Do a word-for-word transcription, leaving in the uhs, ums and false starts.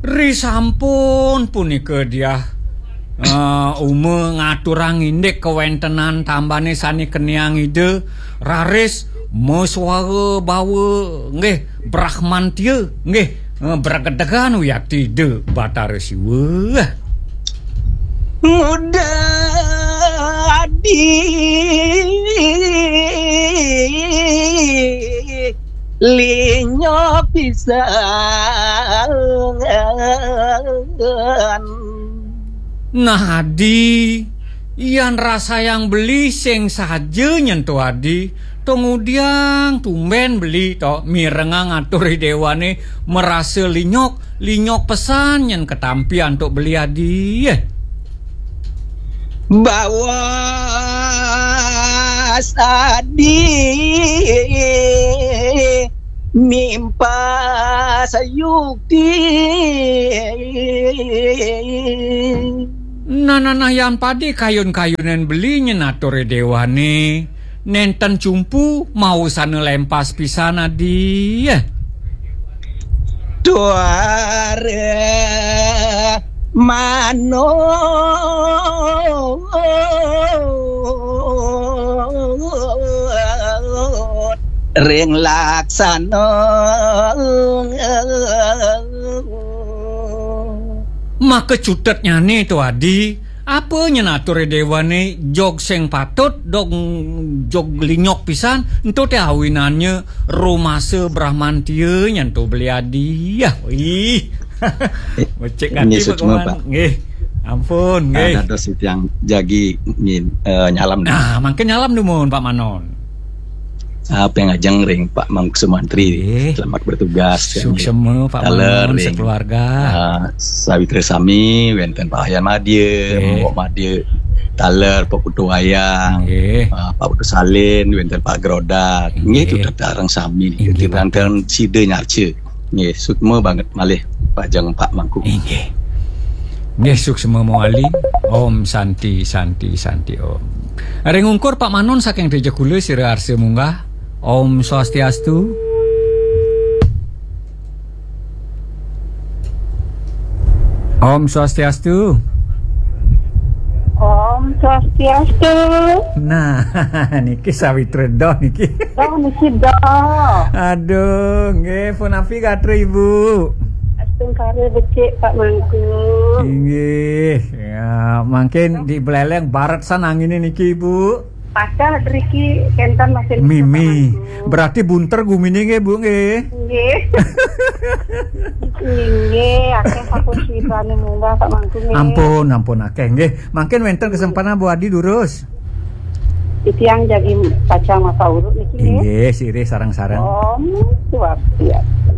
Risampun punika diah, eh, Uma ngaturang indik kawéntenan tambane sane keniang Ida, raris maswara bawa, nggih, brahmantia, nggih, eh, bragedegan wiakti Ida Batara Siwa. Muda adi linyo pisan. Nah, Adi, yan rasayang beli sing saja nyen to Adi, to ngudiang tumben beli to mirengang atur dewane merasa linyok, linyok pesan nyen ketampi antuk beli Adi. Bawa sadi mimpa sayukti. Nah, nah, nah, yan padi kayun-kayunan beli nyen atur dewane. Nenten cumpu, mausana lempas pisan Adi. Tuara manut ring laksana. Maka cutetnyane to Adi, apa nyen atur dewane jog sing patut, dog jog linyok pisan, ento te awinannya rumasa brahmantia nyen to beli Adi. Yah, ih. Becik ati, nggih, suksma, Pak. Nggih. Ampun, nggih. Dados titiang jagi nyin-, eh, nyalam. Nah, mangke nyalam dumun, Pak Manon. Apa yang ajeng ring Pak Mangku Sumantri. Nggih. Selamat bertugas. Suksma, Pak Manon, ring, sekeluarga. Eh, sawitra sami, wenten Pak Wayan Madya, nggih. Mbok Madya, taler Pak Putu Wayang, nggih. Eh, Pak Putu Salin, wenten Pak Grodak. Nggih, nggih. Tutur sareng sami. Inggih, Pak. Wenten sida nyarca. Nggih, suksma banget malih pajeng Pak Mangku. Inggih. Nggih, suksma mawali. Om Santi, Santi, Santi, Om. Ring ungkur Pak Manon saking Tejagula sira arsa munggah. Om Swastiastu. Om Swastiastu. Om Swastiastu. Nah, niki sawitra doh niki. Doh niki doh. Aduh, nggih, punapi gatra Ibu? Astungkara becik Pak Mangku. Inggih. Ya, mangkin di Buleleng baret san angine niki, Ibu. Patah driki kenten masih mimi. Berarti bunter gumine nggih, Bu, nggih? Nggih. Nggih, akeh sampun sirane munggah Pak Mangku nggih. Ampun, ampun akeh nggih. Mangkin wenten kesempatan Bu Adi durus. Titiang jagi pacang masa urut niki nggih. Inggih, sirih sareng-sareng. Om Swastiastu.